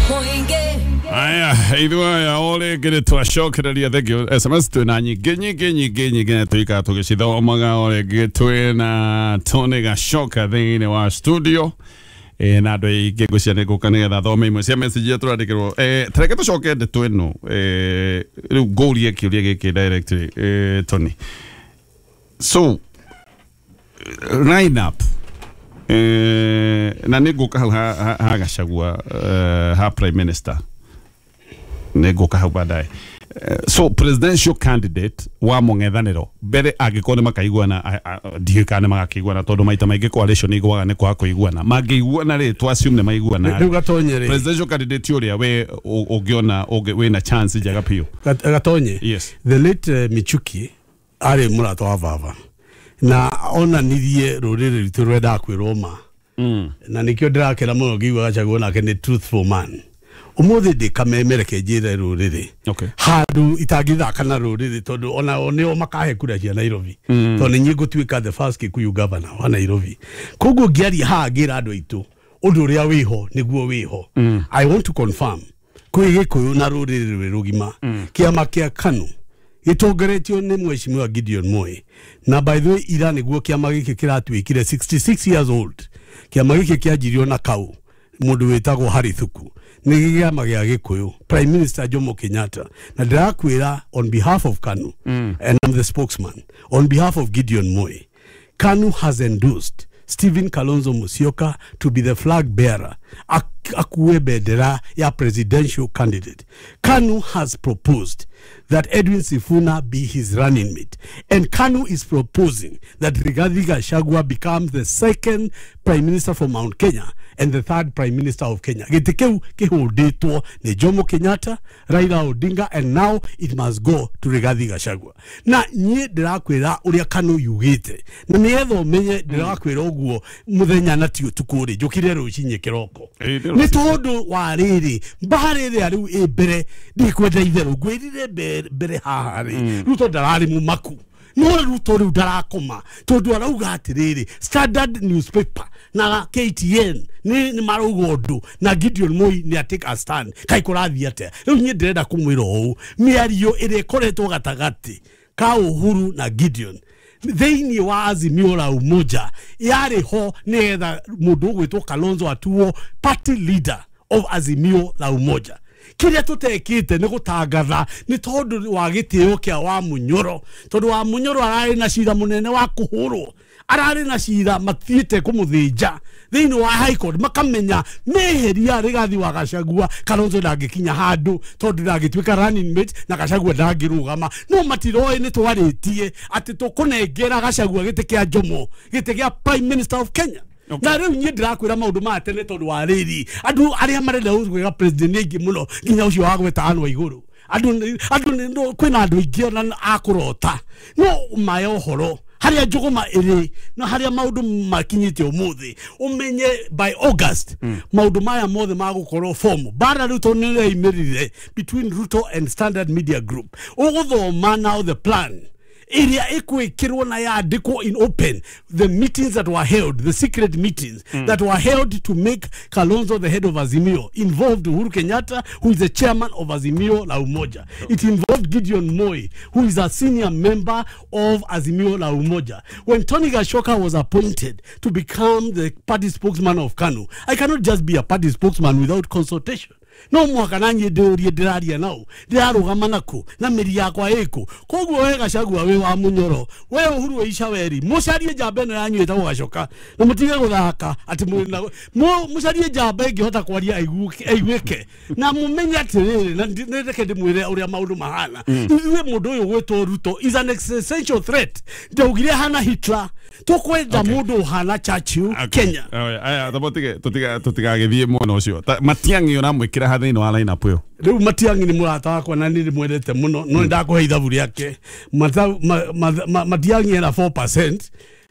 Aya, ithuĩ o rĩngĩ nĩ twacokereria. Thengio. SMS twĩna nyingĩ nyingĩ nyingĩ nyingĩ na tũikara tũgĩcithomaga. O rĩngĩ twĩna Tony Gachoka thĩinĩ wa studio na andũ aingĩ ngũcia nĩ ngũka nĩgetha thome imwe cia message iria tũrandĩkĩrwo. Tareke tũcoke ndeto ĩno. Rĩu ngũrie kĩũria gĩkĩ directly, Tony. So line up, na nĩ ngũka hau ha Gachagua, ha prime minister nĩ ngũka hau baadaye. So presidential candidate wa mũng'ethanĩro mbere, angĩkorwo nĩ makaiguana, ndiũĩ kana nĩ magakĩiguana, tondũ maita maingĩ coalition igwaga nĩ kwaga kũiguana. Mangĩiguana rĩ, to assume nĩ maiguana, Rĩu Gatonye rĩ, presidential candidate ũrĩa we ũngĩona wĩna chance njega biũ? Gatonye. Yes. The late Michuki arĩ mũrata wa baba na onanirie rũrĩrĩ rwitũ rwendaga kwĩrwo ma, na nĩkĩo ndĩrakena mũno ngĩigua Gachagua nake nĩ truthful man. Ũmũthĩ ndĩ kameme, reke njĩre rũrĩrĩ handũ itangĩthaka na rũrĩrĩ, tondũ ona o nĩo makahe kura cia Nairobi, tondũ nĩ niĩ ngũtuĩka the first Kikuyu governor wa Nairobi. Koguo ngĩaria haha ngĩra andũ aitũ ũndũ ũrĩa wĩho nĩguo wĩho. I want to confirm kwĩ Gĩkũyũ na rũrĩrĩ rwĩ rũgima, kĩama kĩa KANU gĩtongoretio nĩ Mheshimiwa Gideon Moi. Na by the way, ira nĩguo kĩama gĩkĩ kĩratuĩkire 66 years old. Kĩama gĩkĩ kĩanjirio na kau mũndũ wĩtagwo Harry Thuku, nĩ kĩama gĩa Gĩkũyũ, Prime Minister Jomo Kenyatta. Na ndĩrakwĩra on behalf of KANU, and I'm the spokesman on behalf of Gideon Moi, KANU has endorsed Stephen Kalonzo Musyoka to be the flag bearer, akue bendera ya presidential candidate. KANU has proposed that Edwin Sifuna be his running mate. And KANU is proposing that Rigathi Gachagua becomes the second prime minister from Mount Kenya and the third prime minister of Kenya. Gĩtĩ kĩu kĩhũndĩtwo nĩ Jomo Kenyatta, Raila Odinga, and now it must go to Rigathi Gachagua. Na niĩ ndĩrakwĩra ũrĩa KANU yugĩte, na nĩgetha ũmenye ndĩrakwĩra ũguo mũthenya na ti ũtukũ rĩ, njũkire rũcinĩ kĩroko. Ĩ, nĩ nĩ tondũ wa rĩrĩ mbara ĩrĩa rĩu ĩ mbere, ndikwenda itherũ ngwĩrire mbere haha rĩ, Ruto ndararĩ mũmaku, no Ruto rĩu ndarakoma tondũ arauga atĩrĩrĩ, Standard newspaper na KTN nĩ marauga ũndũ na Gideon Moi nĩ atake a stand. Kai kũrathiĩ atĩa rĩu? Niĩ ndĩrenda kũmwĩra ũũ, mĩario ĩrĩa ĩkoretwo gatagatĩ ka Uhuru na Gideon thĩinĩ wa Azimio la Umoja yarĩ ho nĩgetha mũndũ ũgwĩtwo Kalonzo atuo party leader of Azimio la Umoja. Kĩrĩa tũtekĩte nĩ gũtangatha nĩ tondũ wa gĩtĩo kĩa wa Munyoro, tondũ wa Munyoro ararĩ na cira mũnene wa kũhũrwo, ararĩ na cira mathiĩte kũmũthĩnja thĩinĩ wa High Court, makamenya meheria Rigathi wa Gachagua, Kalonzo ndangĩkinya handũ tondũ ndangĩtuĩka running mate na Gachagua ndangĩrũgama. No matiroĩ nĩ twarĩtie atĩ tũkũnengera Gachagua gĩtĩ kĩa Jomo, gĩtĩ kĩa prime minister of Kenya. Na rĩu niĩ ndĩrakwĩra maũndũ maya tene tondũ wa rĩrĩ, andũ arĩa marenda gũtuĩka president nĩ aingĩ mũno, nginya ũcio wa gweta anũ a igũrũ. Andũ kwĩna andũ aingĩ ona akũrota no maya ũhoro harĩa njũgũma ĩrĩ na harĩa maũndũ makinyĩte ũmũthĩ. Ũmenye by August maũndũ maya mothe magũkorwo form bara. Rĩu tondũ nĩ ĩraimĩrire between Ruto and Standard Media Group, ũgũthoma now the plan ĩrĩa ĩkwĩkĩrwo na yandĩkwo in open, the meetings that were held, the secret meetings that were held to make Kalonzo the head of Azimio, involved Uhuru Kenyatta, who is the chairman of Azimio la Umoja. It involved Gideon Moi, who is a senior member of Azimio la Umoja. When Tony Gashoka was appointed to become the party spokesman of KANU, I cannot just be a party spokesman without consultation. No mũhaka na niĩ ndĩũrie ndĩraria nao, ndĩrarũgama nakũ na mĩri yakwa ĩkũ. Koguo we Gachagua, wĩ wa Mũnyoro, we Uhuru wa Icaweri, mũcarie njamba ĩno yanyu ĩtagwo Gacoka na mũtige gũthaka atĩ mwĩna mũcarie njamba ĩngĩhota kwaria aiguĩke na mũmenye atĩrĩrĩ, na reke ndĩmwĩre ũrĩa maũndũ mahana. Ithuĩ mũndũ ũyũ gwĩtwo Ruto is an existential threat. Ndaugire hana Hitler, tũkwenda mũndũ ũhana Churchill Kenya. Aya, tamba tũtigagĩthiĩ mwena ũcio. Matiang'i ũramwĩkĩra ha thĩinĩ wa line up ĩyo? Rĩu Matiang'i nĩ mũrata wakwa na nĩ ndĩmwendete mũno, no nĩ ndakũhe ithabu rĩake. Matiang'i ena 4%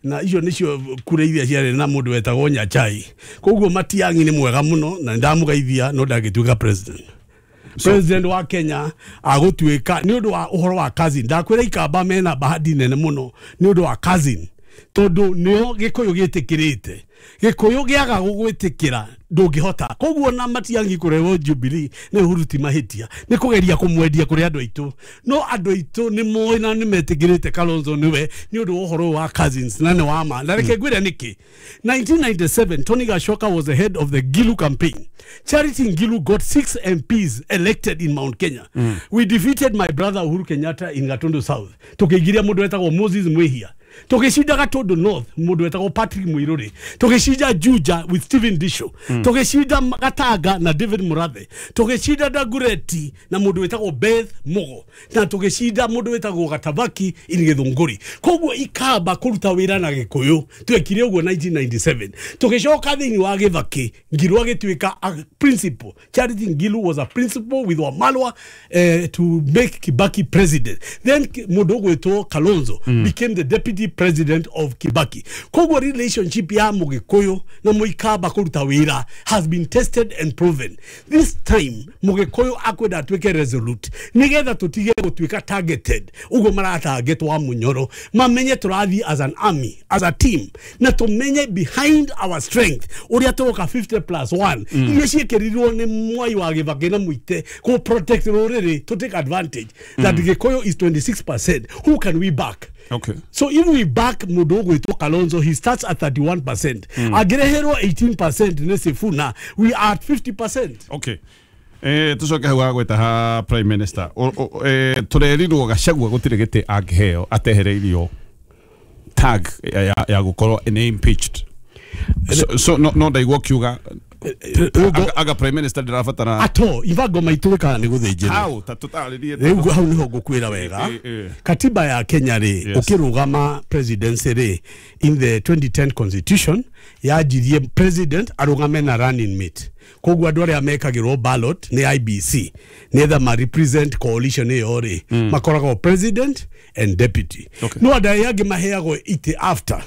na icio nĩcio kura iria ciarĩ na mũndũ wetagwo Nyachai. Koguo Matiang'i nĩ mwega mũno na nĩ ndamũgeithia, no ndangĩtuĩka president wa Kenya. Agũtuĩka nĩ ũndũ wa ũhoro wa cousin. Ndakwĩra Ikamba mena bahati nene mũno nĩ ũndũ wa cousin, tondũ nĩo Gĩkũyũ gĩtĩkĩrĩte. Gĩkũyũ gĩaga gũgwĩtĩkĩra. Ndũngĩhota. Koguo na Matiang'i kũrehwo Jubilee nĩ Uhuru ti mahĩtia, nĩ kũgeria kũmwendia kũrĩ andũ aitũ, no andũ aitũ nĩ moĩ na nĩ metĩkĩrĩte Kalonzo nĩwe nĩ ũndũ wa ũhoro wa cousins na nĩ wa ma. Na reke ngwĩre nĩkĩ. 1997 Tony Gashoka was the head of the Ngilu campaign. Charity Ngilu got 6 MPs elected in Mount Kenya. We defeated my brother Uhuru Kenyatta in Gatundu South. Tukĩigiria mũndũ wetagwo Moses Mwihia. Tũgĩcinda Gatundu North mũndũ wetagwo Patrick Muiruri. Tũgĩcinda Juja with Stephen Disho. Tũgĩcinda Gatanga na David Murathe. Tũgĩcinda Dagoretti na mũndũ wetagwo Beth Mugo. Na tũgĩcinda mũndũ wetagwo Gatabaki in Gĩthũngũri. Koguo Ikamba kũruta wĩra na Gĩkũyũ twekire ũguo 1997. Tũgĩcoka thĩinĩ wa Gĩthaki, Ngilu agĩtuĩka a principal. Charity Ngilu was a principal with Wamalwa to make Kibaki president. Then mũndũ ũgwĩtwo Kalonzo became the deputy president of Kibaki. Koguo relationship ya Mũgĩkũyũ na Mũikamba kũruta wĩra has been tested and proven. This time Mũgĩkũyũ akwenda atuĩke resolute nĩgetha tũtige gũtuĩka targeted ũguo maratarget wa Munyoro, mamenye tũrathiĩ as an army, as a team, na tũmenye behind our strength ũrĩa tũroka 50+1 iria ciĩkĩrirwo nĩ Mwai wa Gĩbakĩ na Mũite kũ protect rũrĩrĩ to take advantage that Gĩkũyũ is 26%. Who can we back? Okay. So if we back mũndũ ũgwĩtwo Kalonzo, he starts at 31%. Angĩreherwo 18% nĩ Sifuna, we are at 50%. Okay. Tucoke hau gweta ha prime minister. Tũrerirwo Gachagua gũtirĩ gĩtĩ angĩheo atehereirio tag ya gũkorwo nĩ impeached. So no ndaigua kiuga aga prime minister ndĩrabatara ato ivango maitũ ĩkaga nĩ gũthĩnjĩrwo. Hau ta tũtarĩrie rĩu hau nĩho ngũkwĩra wega. Katiba ya Kenya rĩ, ũkĩrũgama presidency rĩ, in the 2010 constitution yanjirie president arũgame na running mate. Koguo andũ arĩa mekagĩrwo ballot nĩ IBC nĩgetha ma represent coalition ĩyo rĩ, makoragwo president and deputy. Okay. No andũ arĩa angĩ maheagwo itĩ after,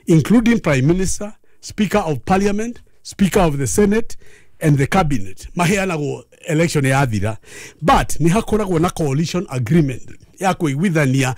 including prime minister, speaker of parliament, speaker of the senate and the cabinet, maheanagwo election yathira. But nĩ hakoragwo na coalition agreement ya kũiguithania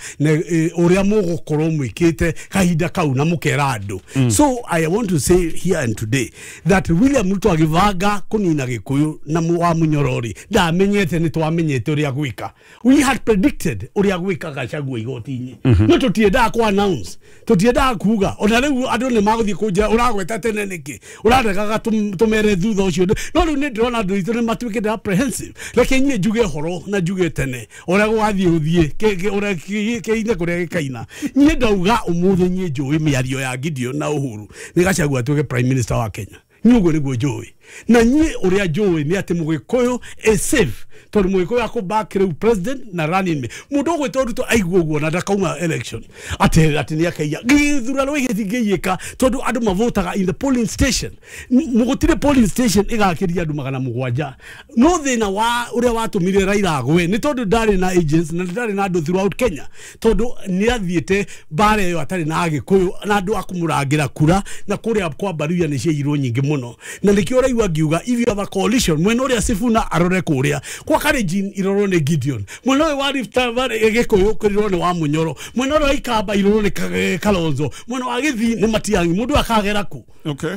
ũrĩa mũgũkorwo mwĩkĩte kahinda kau na mũkera andũ. So I want to say here and today that William Ruto agĩbanga kũnina Gĩkũyũ na wa Munyoro rĩ, ndamenyete nĩ twamenyete ũrĩa gwĩka. We had predicted ũrĩa gwĩka Gachagua igoti-inĩ. No tũtiendaga kũ announce, tũtiendaga kuga. Ona rĩu andũ nĩ magũthiĩ kũnjĩra ũragweta tene nĩkĩ, ũraregaga tũmere thutha ũcio. No rĩu nĩ ndĩrona andũ aitũ nĩ matuĩkĩte apprehensive. Reke niĩ njuge horo na njuge tene ũrĩa gũgathiĩ gũthiĩ kĩine kũrĩa gĩkaina. Niĩ ndauga ũmũthĩ niĩ njũĩ mĩario ya Gideon na Uhuru nĩ Gachagua atuĩke prime minister wa Kenya. Niĩ ũguo nĩguo njũĩ. Na niĩ ũrĩa njũĩ nĩ atĩ Mũgĩkũyũ is safe tondũ Mũgĩkũyũ akũback rĩu president na running mate. Mũndũ ũgwĩtwo Ruto aigua ũguo na ndakauma election atĩ nĩ akaiya gĩthurano gĩtingĩiyĩka tondũ andũ mavotaga in the polling station. Gũtirĩ polling station ĩgakĩria andũ 700. No thĩna wa ũrĩa watũmire Raila agwe nĩ tondũ ndarĩ na agents na ndarĩ na andũ throughout Kenya, tondũ nĩ athiĩte mbara ĩyo atarĩ na Agĩkũyũ na andũ a kũmũrangĩra kura, na kũrĩa kwa Baruya nĩ ciaiyirwo nyingĩ mũno. Na nĩkĩo ũraigua ngiuga if you have a coalition, mwena ũrĩa Sifuna arore kũrĩa kwa Kalenjin irorwo nĩ Gideon, mwena ũyũ wa Rift Valley Gĩkũyũ kĩrirwo nĩ wa Munyoro, mwena ũrĩa wa Ikamba irorwo nĩ Kalonzo, mwena wa Gĩthii nĩ Matiang'i. Mũndũ akagera kũ? Okay.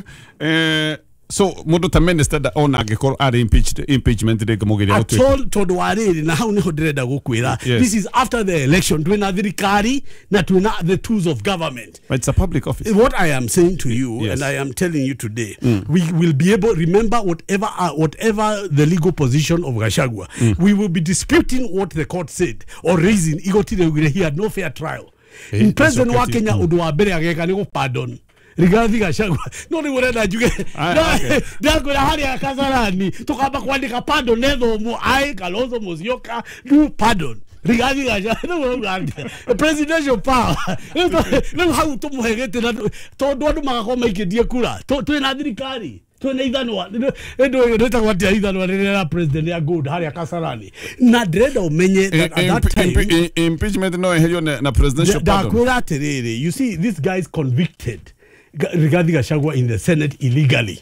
So mũndũ ta minister da ona angĩkorwo arĩ impeached, impeachment ndĩngĩmũgiria at gũtuĩka all tondũ wa rĩrĩ, na hau nĩho ndĩrenda gũkwĩra. Yes. This is after the election, twĩna thirikari na twĩna the tools of government. But it's a public office. What I am saying to you, Yes. and I am telling you today, we will be able, remember whatever the legal position of Gachagua, we will be disputing what the court said or raising. Igoti rĩaugire he had no fair trial. President wa okay. Kenya ũndũ wa mbere ageka nĩ gũ-pardon Rigathi Gachagua. No rĩu ũrenda njuge ndakwĩra harĩa Kasarani tũkamba kwandĩka pardon nethomwo I Kalonzo Musyoka do pardon Rigathi Gachagua. Rĩu ũrauga atĩa? Presidential power rĩu hau tũmũhe gĩtĩ na tondũ andũ magakorwo maikĩtie kura. Twĩna thirikari, twĩna ithanwa rĩtagwo atĩa ithanwa rĩrĩa rĩa president ya gold harĩa Kasarani. Na ndĩrenda ũmenye that at that time Impeachment no eherio na presidential pardon. Ndakwĩra atĩrĩrĩ, you see these guys convicted Rigathi Gachagua in the Senate illegally.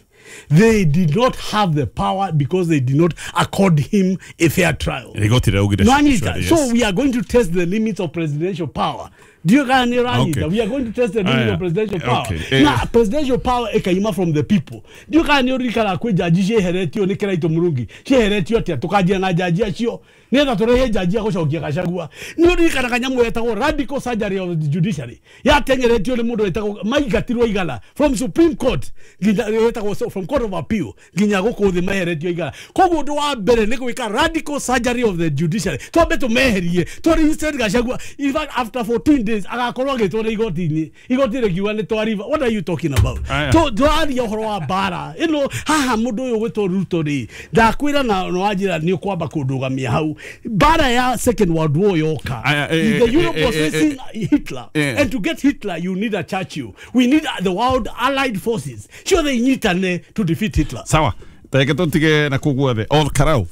They did not have the power because they did not accord him a fair trial. Igoti rĩaugire No, Anita. yes. So we are going to test the limits of presidential power. Ndiũĩ kana nĩ ũranyita. We are going to test the meaning of presidential power. Na presidential power ĩkaima from the people. Ndiũĩ kana nĩ ũririkanaga kwĩ njanji cieheretio nĩ Kĩraitũ Mũrungi, cieheretio atĩa? Tũkanjia na njanji acio nĩgetha tũrehe njanji ya gũcokia Gachagua. Nĩ ũririkanaga nyamũ yetagwo radical surgery of the judiciary, yatengeretio nĩ mũndũ wetagwo maingatirwo igana from Supreme Court nginya yetagwo from Court of Appeal nginya gũkũ thĩ meheretio igana. Koguo ũndũ wa mbere nĩ gwĩka radical surgery of the judiciary, twambe tũmeherie tũ Gachagua. In fact, after 14 days agakorwo agĩtwo nĩ igoti-inĩ, igoti rĩkiuga nĩ twariva. What are you talking about? Tũraria ũhoro wa mbara ĩno haha. Mũndũ ũyũ gwĩtwo Ruto rĩ, ndakwĩra na wanjĩra nĩ ũkwamba kũndũgamia hau. Mbara ya Second World War yoka, the Europe was facing Hitler, and to get Hitler you need a Churchill. We need the world allied forces ciothe inyitane to defeat Hitler. Sawa, tareke tũtige na kũu guothe. Ol Karau,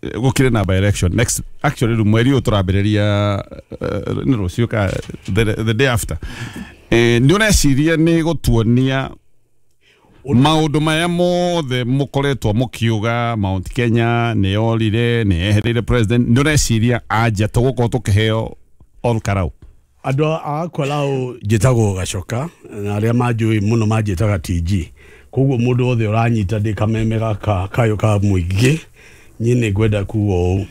gũkĩrĩ na by election next, actually rĩu mweri ũyũ tũrambĩrĩria nĩ rũciũ ka the day after. Nĩ ũreciria nĩ gũtuonia maũndũ maya mothe mũkoretwo mũkiuga Mount Kenya nĩ yorire, nĩ yehereire president, nĩ ũreciria anja tũgũkorwo tũkĩheo Ol Karau? Andũ a Kalau njĩtagwo Gacoka, na arĩa manjũĩ mũno manjĩtaga TG. Koguo mũndũ wothe ũranyita ndĩ kameme gaka kayũ ka mũingĩ, niĩ nĩ ngwenda kuga ũũ: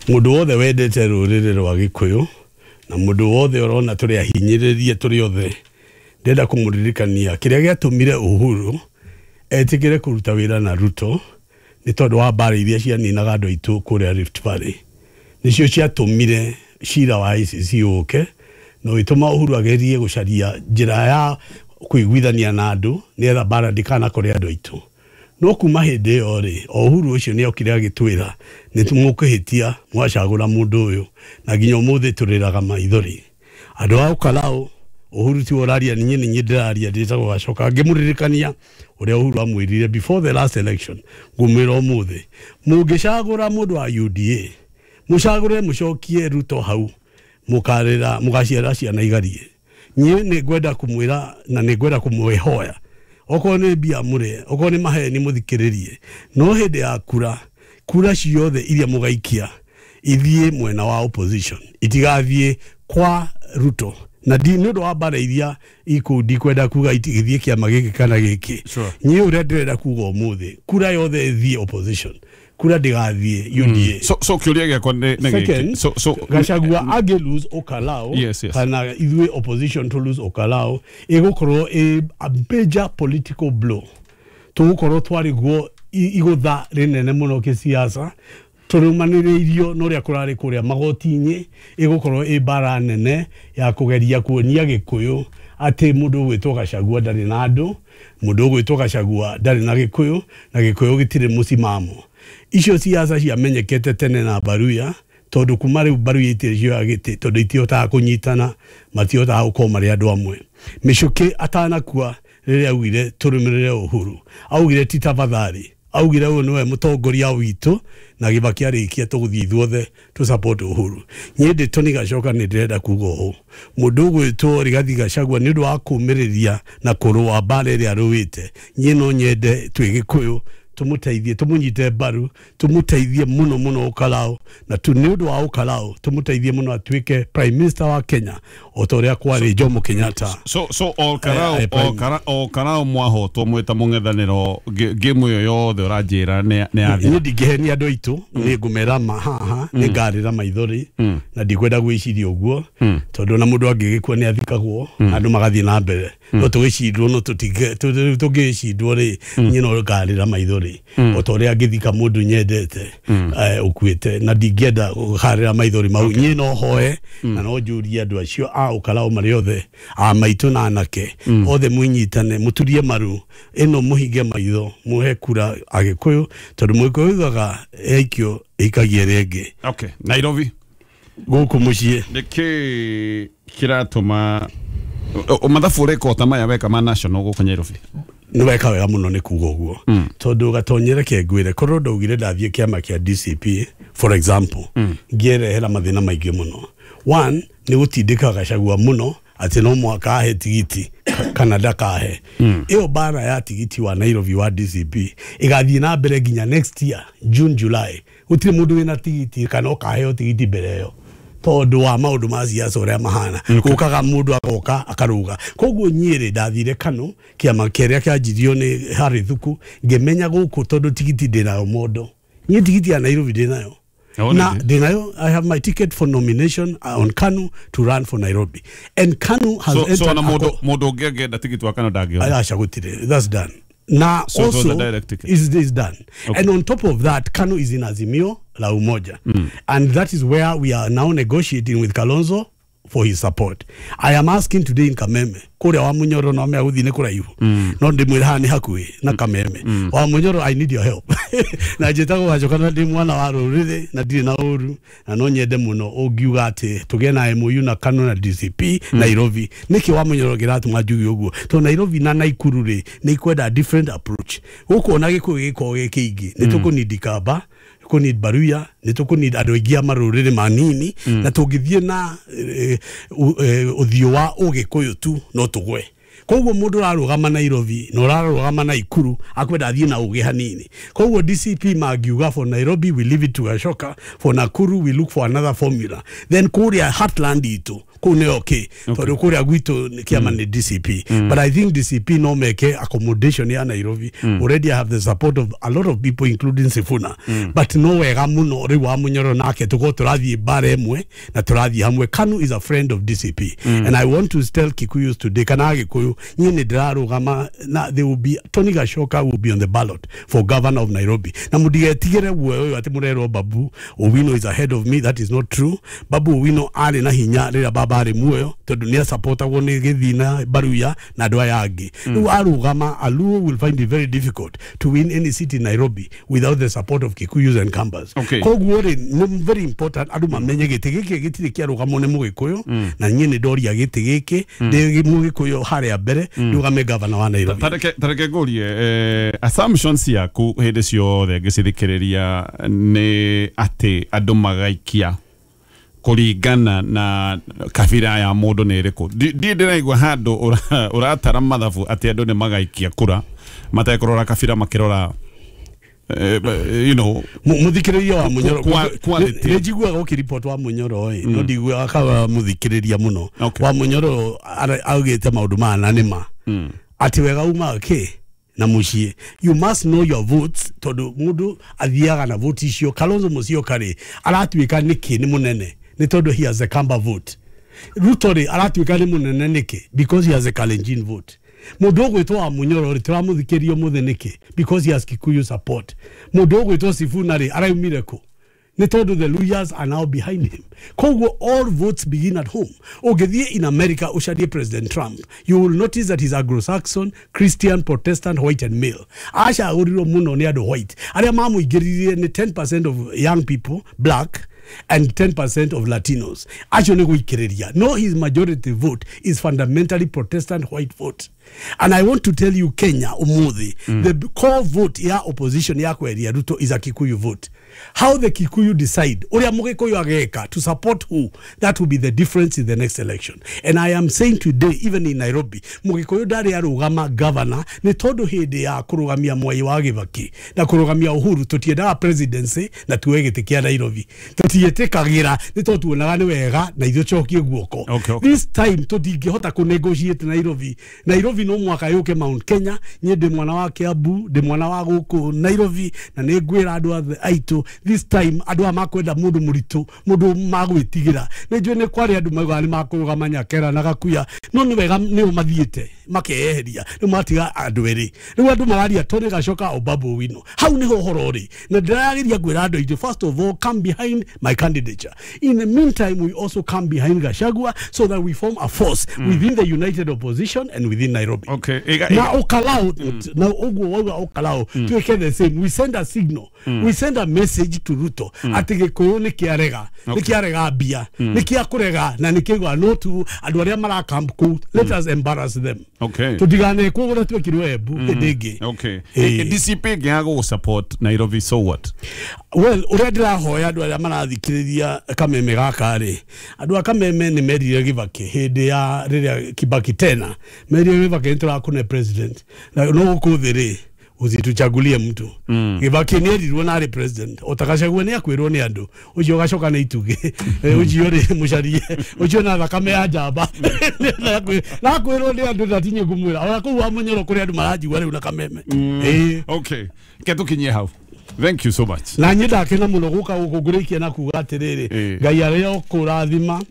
mũndũ wothe wendete rũrĩrĩ rwa Gĩkũyũ na mũndũ wothe ũrona tũrĩ ahinyĩrĩrie tũrĩ othe, ndĩrenda kũmũririkania kĩrĩa gĩatũmire Uhuru etĩkĩre kũruta wĩra na Ruto nĩ tondũ wa mbara iria cianinaga andũ aitũ kũrĩa Rift Valley. Nĩcio ciatũmire cira wa ICC ũke na ũgĩtũma Uhuru agerie gũcaria njĩra ya kũiguithania na andũ nĩgetha mbara ndĩkanakore andũ aitũ. No kuma hĩndĩ ĩyo rĩ, o Uhuru ũcio nĩ okire agĩtwĩra nĩ mũkũhĩtia mwacagũra mũndũ ũyũ, na nginya ũmũthĩ tũrĩraga maithori. Andũ a Ũkarau, Uhuru tiwe ũraria, niĩ nĩ niĩ ndĩraria, ndĩtagwo Gacoka. Ngĩmũririkania ũrĩa Uhuru amwĩrire before the last election, ngũmwĩra ũmũthĩ, mũngĩcagũra mũndũ wa UDA, mũcagũre mũcokie Ruto hau, mũkarĩra mũgaciara ciana igarie. Niĩ nĩ ngwenda kũmwĩra na nĩ ngwenda kũmwĩhoya, okorwo nĩ mbia mũrĩe, okorwo nĩ maheni mũthikĩrĩrie, no hĩndĩ ya kura, kura ciothe iria mũgaikia ithiĩ mwena wa opposition, itigathiĩ kwa Ruto. Na nĩ ũndũ wa mbara iria ikũu, ndikwenda kuga itigĩthiĩ kĩama gĩkĩ kana gĩkĩ. Niĩ ũrĩa ndĩrenda kuga ũmũthĩ, kura yothe ĩthiĩ opposition, kura ndĩgathiĩ UDA. So kĩũria gĩakwa nĩ gĩkĩ. So Gachagua angĩ lose Okalao, kana ithuĩ opposition to lose Okalao, ĩgũkorwo ĩ a major political blow. Tũgũkorwo twarĩguo igũtha rĩnene mũno kĩsiasa, tũrũmanĩrĩirio na ũrĩa kũrarĩ kũrĩa magoti-inĩ. Ĩgũkorwo ĩ mbara nene ya kũgeria kuonia Gĩkũyũ atĩ mũndũ ũgwĩtwo Gachagua ndarĩ na andũ, mũndũ ũgwĩtwo Gachagua ndarĩ na Gĩkũyũ, na Gĩkũyũ gĩtirĩ mũcimamo. Icio siasa ciamenyekete tene na Baruya, tondũ kuma rĩu Baruya itirĩ cioya gĩtĩ, tondũ itihotaga kũnyitana, matihotaga gũkorwo marĩ andũ amwe. Mĩcũkĩ atanakua rĩrĩa augire tũrũmĩrĩre Uhuru, augire ti tafadhali, augire ũyũ nĩwe mũtongoria witũ, na Kibaki arĩkia tũgũthiĩ ithuothe tũ support Uhuru. Niĩ ndĩ Tony Gacoka nĩ ndĩrenda kuga ũũ: mũndũ ũgwĩtwo Rigathi Gachagua nĩ ũndũ wa kũmĩrĩria na kũrũa mbara ĩrĩa arũĩte, niĩ no nyende twĩ Gĩkũyũ tũmũteithie, tũmũnyite mbaru, tũmũteithie mũno mũno Ũkarau, na tu nĩ ũndũ wa Ũkarau tũmũteithie mũno atuĩke prime minister wa Kenya o ta ũrĩa kwarĩ Jomo Kenyatta. So Ol Karau, Ol Karau mwahotwo mwĩta mũng'ethanĩro, game ĩyo yothe ũranjĩra nĩ yathira? Niĩ ndingĩhenia andũ aitũ, nĩ ngũmera ma haha nĩ ngarĩra maithori, na ndikwenda gwĩciria ũguo, tondũ ona mũndũ angĩgĩkua nĩ athikagwo na andũ magathiĩ na mbere. No tũgĩcindwo, no tũngĩcindwo rĩ, niĩ no ngarĩra maithori o ta ũrĩa ngĩthika mũndũ nyendete ũkuĩte, na ndingĩenda gũkarĩra maithori mau. Niĩ no hoe na no njũrie andũ acio a Ũkarau marĩ othe, a maitũ na anake othe, mwĩnyitane, mũturie maru ĩno, mũhinge maitho, mũhe kura Agĩkũyũ, tondũ Mũgĩkũyũ ugaga ĩikio ĩikagie ĩrĩa ĩngĩ. Okay, Nairobi gũkũ mũciĩ nĩkĩ kĩratũma mathabu ũreka ta maya weka ma national gũkũ Nairobi? Nĩ weka wega mũno nĩ kuga ũguo, tondũ gatonyere ke ngwĩre, korwo ndaugire ndathiĩ kĩama kĩa DCP for example, ngĩerehera mathĩna maingĩ mũno. One, nĩ gũtindĩka Gachagua mũno atĩ no mũhaka ahe tigiti kana ndakahe. Ĩyo mbara ya tigiti wa Nairobi wa DCP ĩgathiĩ na mbere nginya next year June, July. Gũtirĩ mũndũ wĩna tigiti kana ũkaheo tigiti mbere ĩyo. Tondu wa maundu ma siasa uria mahana gukaga mundu agoka akaruga. Koguo nyire ndathire Kanu kiama kiria kianjirio ni Harry Thuku ngimenya guku tondu tigiti ndinayo mondo nie tigiti ya Nairobi ndinayo na ndinayo. I have my ticket for nomination on Kanu to run for Nairobi, and Kanu has so, so na mondo ngegenda tigiti wa Kanu ndangio acha gutire. That's done. Na so also is is done. Okay. And on top of that, Kanu is in Azimio la Umoja. And that is where we are now negotiating with Kalonzo for his support. I am asking today in Kameme, kuria wa Munyoro no me aguthi ni kuraihu. No ndimwira haha ni hakuhi na Kameme. Wa Munyoro, I need your help. Na njitagwo Gachoka na ndi mwana wa ruriri na ndirĩ na ũru na no nyende mũno ũngiuga atĩ tũgĩe na MOU na Kanu na DCP Nairobi. Nĩkĩ wa Munyoro kĩratũma njuge ũguo? Tondũ Nairobi na Nakuru rĩ nĩ ikwenda different approach. Gũkũ ona Gĩkũyũ gĩkoragwo gĩ kĩingĩ nĩ tũkũnidi Kamba, kũnid Baruya, nĩ tũkũnid andũ aingĩ a marũrĩrĩ manini, na tũngĩthiĩ na ũthiũ wa ũgĩkũyũ tu no tũgwe. Koguo mũndũ ũrarũgama Nairobi na ũrarũgama Nakuru akwenda athiĩ na ũgĩ hanini. Koguo DCP mangiuga for Nairobi we leave it to Gachoka, for Nakuru we look for another formula. Then kũrĩa heartland itũ kũu nĩ okay, tondũ kũrĩa gwitũ kĩama nĩ DCP. But I think DCP no meke accommodation ya Nairobi. Already I have the support of a lot of people including Sifuna. But no wega mũno rĩu wa Munyoro nake tũkorwo tũrathiĩ bara ĩmwe na tũrathiĩ hamwe. Kanu is a friend of DCP. And I want to tell Kikuyus today, kana Gĩkũyũ niĩ nĩ ndĩrarũgama na there will be Tony Gachoka will be on the ballot for governor of Nairobi. Na mũtigetigĩre guoya ũyũ atĩ mũrerwo Babu Owino is ahead of me. That is not true. Babu Owino arĩ na hinya rĩrĩa baba arĩ muoyo tondũ nĩ asupportagwo nĩ Gĩthina, Baruya na andũ aya angĩ. Rĩu arũgama, a Luo will find it very difficult to win any seat in Nairobi without the support of Kikuyus and Kambas. Koguo rĩ nĩ very important andũ mamenye gĩtĩ gĩkĩ gĩtirĩ kĩarũgamwo nĩ Mũgĩkũyũ, na niĩ nĩ ndoria gĩtĩ gĩkĩ ndĩ Mũgĩkũyũ harĩa mbere ndũgame governor wa Nairobi. Tareke ngũrie assumptions ciaku hĩndĩ ciothe ngĩcithikĩrĩria nĩ atĩ andũ magaikia kũringana na kabira ya mũndũ nĩ ĩrĩkũ. Ndiĩ ndĩraigua handũ ũratara mathabu atĩ andũ nĩ magaikia kura matekũrora kabira makĩrora you know Muthikĩrĩria wa Munyoro nĩ njiguaga ũkĩripot wa Munyoro ĩ no ndiguaga kawa muthikĩrĩria mũno. Wa Munyoro augĩte maũndũ maya na nĩ ma atĩ wega umaga kĩ na mũciĩ. You must know your votes tondũ mũndũ athiaga na vote icio. Kalonzo Musyoka rĩ aratuĩka nĩkĩ nĩ mũnene nĩ tondũ he has a Kamba vote. Ruto rĩ aratuĩka nĩ mũnene nĩkĩ because he has a Kalenjin vote. Mũndũ ũgwĩtwo wa Munyoro rĩ tũramũthikĩria ũmũthĩ nĩkĩ because he has Kikuyu support. Mũndũ ũgwĩtwo Sifuna rĩ araumire kũ nĩ tondũ the Luyas are now behind him. Koguo all votes begin at home. Ũngĩthiĩ in America ũcarie President Trump, you will notice that he's Anglo-Saxon, Christian, Protestant, white and male. Acagũrirwo mũno nĩ andũ white arĩa mamũingĩririe nĩ 10% of young people black and 10% of Latinos. Acio nĩ gũikĩrĩria. No, his majority vote is fundamentally Protestant white vote. And I want to tell you, Kenya, umuthi, the core vote ya opposition ya kweria Ruto is a Kikuyu vote. How the Kikuyu decide, uria Mugikuyu ageka, to support who, that will be the difference in the next election. And I am saying today, even in Nairobi, Mugikuyu ndari arugama governor, ni tondu hindi ya kurugamia Mwai wa Kibaki na kurugamia Uhuru, tutiendaga presidency na tuwe gĩtĩ kĩa Nairobi. Tutiĩtĩkagĩra nĩ tondũ tuonaga nĩ wega na ithuĩ cokie guoko. This time tũtingĩhota kũ negotiate Nairobi. Nairobi no mwaka yũke Mount Kenya. Niĩ ndĩ mwana wa Kiambu, ndĩ mwana wa gũkũ Nairobi, na nĩ ngwĩra andũ othe aitũ this time andũ aya makwenda mũndũ mũritũ, mũndũ magwĩtigĩra. Nĩ njũĩ nĩ kwarĩ andũ maugaga nĩ makũrũgama Nyakera na Gakuya, no nĩ wega nĩo mathiĩte makeyeheria, rĩu matiga andũ erĩ. Rĩu andũ mararia Tony Gachoka o Babu Owino. Hau nĩho ũhoro ũrĩ, na ndĩrageria kwĩra andũ aitũ, first of all, come behind my candidature. In the meantime, we also come behind Gachagua so that we form a force within the united opposition and within Nairobi. Na Olkalou, na ũguo wauga Olkalou, tuĩke the same. We send a signal. We send a message to Ruto. Atĩ Gĩkũyũ nĩ kĩarega, nĩ kĩarega mbia, nĩ kĩakũrega na nĩ kĩaigua no tu andũ arĩa marakamp kũu, let us embarrass them. Tũtiganekwo ũrĩa twekirwo Embu hĩndĩ ĩngĩ. DCP ĩngĩaga gũgũ support Nairobi, so what? Well, ũrĩa ndĩrahoya andũ arĩa marathikĩrĩria Kameme gaka rĩ, andũ a Kameme nĩ merire Kibaki hĩndĩ ya rĩrĩa Kibaki tena merire Kibaki nĩ tũrakũne president na no gũkũ thĩ rĩ Usituchagulie mtu. Gibaki nĩ erirwo na arĩ president otagacagua nĩ akwĩrwo nĩ andũ ũcio ũgacoka na itugĩ ũcio rĩ mũcarie ũcio na thakame ya njamba nakwĩrwo nĩ andũ ndatinye ngũmwĩra ona kũu wa Munyoro kũrĩ andũ maranjigua rĩu na kameme. Okay, ke tũkinyie hau. Thank you so much. Na niĩ ndakena mũno gũka gũkũ ngũrĩkia na kuga atĩrĩrĩ, Ngai arĩa ũkũrathima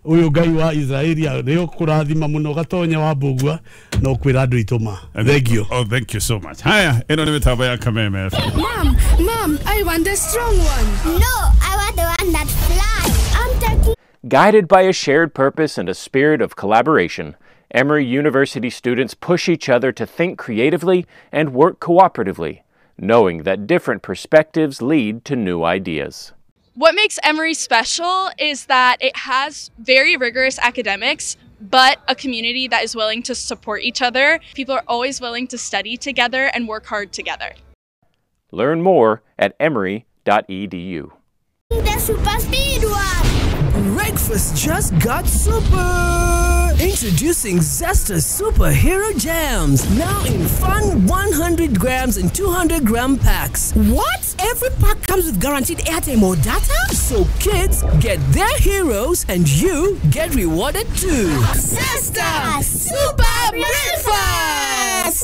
uyu Ngai wa Israeli arĩa ũkũrathima mũno Gatonya wa Mbũgua no kwĩra andũ itũma. Thank you. Oh, thank you so much. Haya, ĩno nĩ mĩtambo ya Kameme FM. Mom, Mom, I want the strong one. No, I want the one that flies. I'm taking. Guided by a shared purpose and a spirit of collaboration, Emory University students push each other to think creatively and work cooperatively, knowing that different perspectives lead to new ideas. What makes Emory special is that it has very rigorous academics, but a community that is willing to support each other. People are always willing to study together and work hard together. Learn more at emory.edu. The super speed one. Breakfast just got super! Introducing Zesta Superhero Jams, now in fun 100 grams and 200 gram packs. What? Every pack comes with guaranteed airtime or data? So kids get their heroes and you get rewarded too. Zesta Super Breakfast!